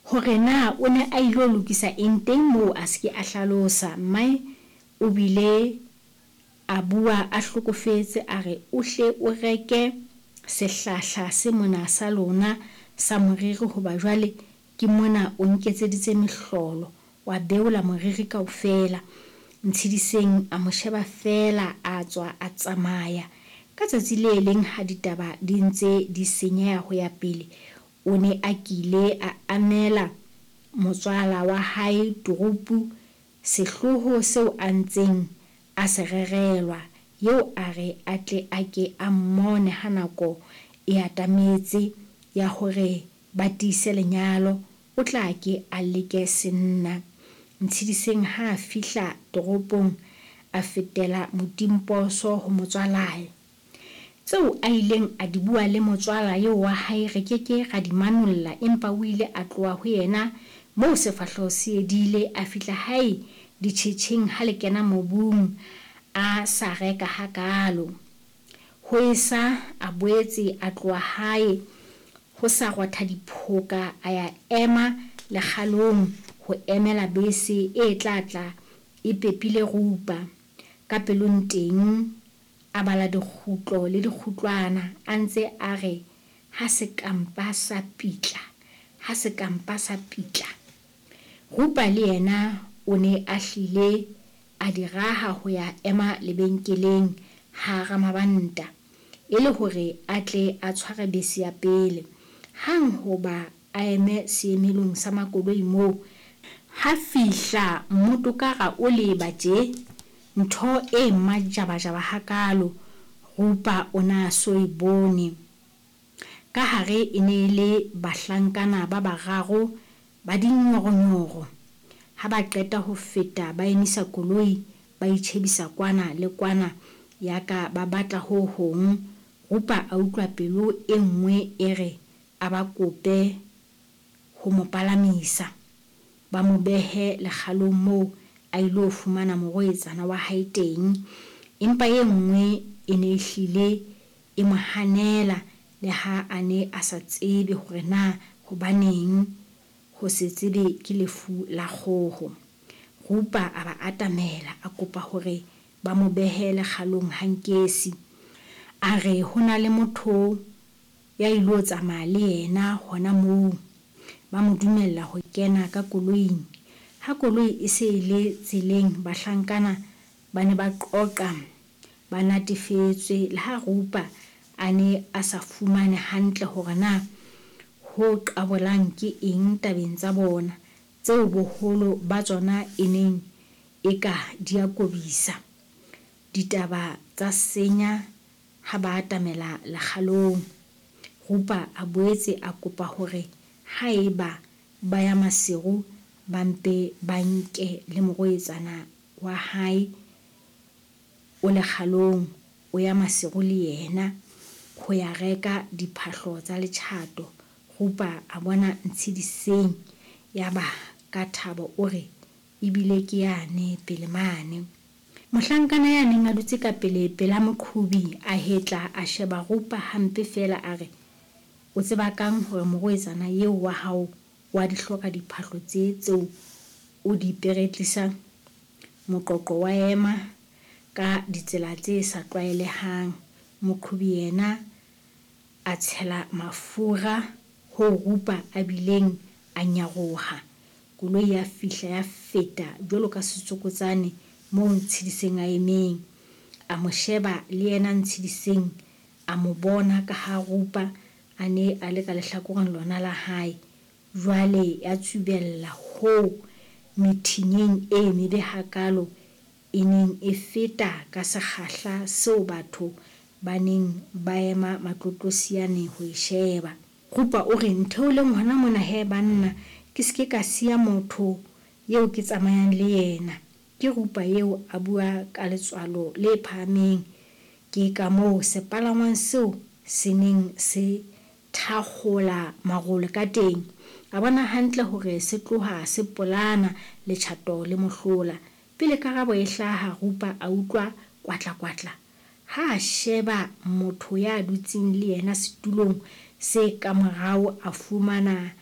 Hore na o ne a ilo lokisa eng teng moo a se ke a hlalosa. Mmae o bile a bua a hlokofetse a re o hle o reke sehlahla se mona sa lona sa moriri hoba jwale ke mona o nketseditse mehlolo wa beola moriri kaofela. Ntshediseng a mo sheba feela a tswa a tsamaya. Ka tsatsi le leng ha ditaba di ntse di senyeha ho ya pele, o ne a kile a amela motswala wa hae Turupu sehloho seo a ntseng a se rerelwa. Eo a re a tle a ke a mmone ha nako e atametse ya hore ba tiise lenyalo, o tla ke a leke senna. Ntshediseng ha a fihla toropong a fetela motimposo ho motswalae. Tseo a ileng a di bua le motswala eo wa hae re ke ke ra di manolla empa o ile a tloha ho yena moo sefahleho se edile, a fihla hae ditjhetjheng ha le kena mobung a sa reka hakaalo. Ho esa a boetse a tloha hae ho sa rotha diphoka a ya ema lekgalong ho emela bese e tla tla e pepile Rupa. Ka pelong teng a bala dikgutlo le dikgutlwana a ntse a re ha se ka mpa sa pitla, ha se ka mpa sa pitla. Rupa le yena o ne a hlile a di raha ho ya ema lebenkeleng ha Ramabanta e le hore a tle a tshware bese ya pele. Hang hoba a eme seemelong sa makoloi moo, ha fihla mmotokara o leba tje, ntho e majabajaba hakaalo Rupa o na so e bone. Ka hare e ne e le bahlankana ba bararo ba dinyoronyoro. Ha ba qeta ho feta ba emisa koloi ba itjhebisa kwana le kwana yaka ba batla ho hong. Rupa a utlwa pelo e nngwe e re a ba kope ho mo palamisa, ba mo behe lekgalong moo a ilo fumana moroetsana wa hae teng. Empa e nngwe e ne e hlile e mo hanela le ha a ne a sa tsebe hore na hobaneng. Ho se tsebe ke lefu la kgoho. Rupa a ba atamela a kopa hore ba mo behe lekgalong ha Nkesi. A re ho na le motho ya ilo tsamaya le yena hona moo. Ba mo dumella ho kena ka koloing. Ha koloi e se e le tseleng bahlankana ba ne ba qoqa ba natefetswe le ha Rupa a ne a sa fumane hantle hore na ho qabolang ke eng tabeng tsa bona, tseo boholo ba tsona e neng eka di a kobisa. Ditaba tsa senya ha ba atamela lekgalong. Rupa a boetse a kopa hore haeba ba ya Maseru ba mpe ba nke le moroetsana wa hae o lekgalong, o ya Maseru le yena ho ya reka diphahlo tsa letjhato. Rupa a bona Ntshediseng yaba ka thabo o re, Ebile ke yane pele mane. Mohlankana ya neng a dutse ka pele pela moqhobi a hetla a sheba Rupa hampe feela a re, O tseba kang hore moroetsana eo wa hao o a di hloka diphahlo tsee tseo o di peretlisang? Moqoqo wa ema ka ditsela tse sa tlwaelehang. Moqhobi yena a tshela mafura hoo Rupa a bileng a nyaroha. Koloi ya fihla ya feta jwalo ka setsokotsane moo Ntshediseng a emeng. A mo sheba le yena Ntshediseng a mo bona ka ha Rupa a ne a le ka lehlakoreng lona la hae. Jwale ya tsubella hoo methinyeng e mebe hakaalo e neng e feta ka sekgahla seo batho ba neng ba ema matlotlosiane ho e sheba. Rupa o re, Ntheoleng hona mona he banna, ke se ke ka siya motho eo ke tsamayang le yena. Ke Rupa eo a bua ka letswalo le phahameng. Ke kamoo sepalangwang seo se neng se thakgola marole ka teng. A bona hantle hore se tloha se polana, letjhato le mohlola. Pele karabo e hlaha, Rupa a utlwa kwatla-kwatla. Ha a sheba motho ya dutseng le yena setulong se kamorao a fumana.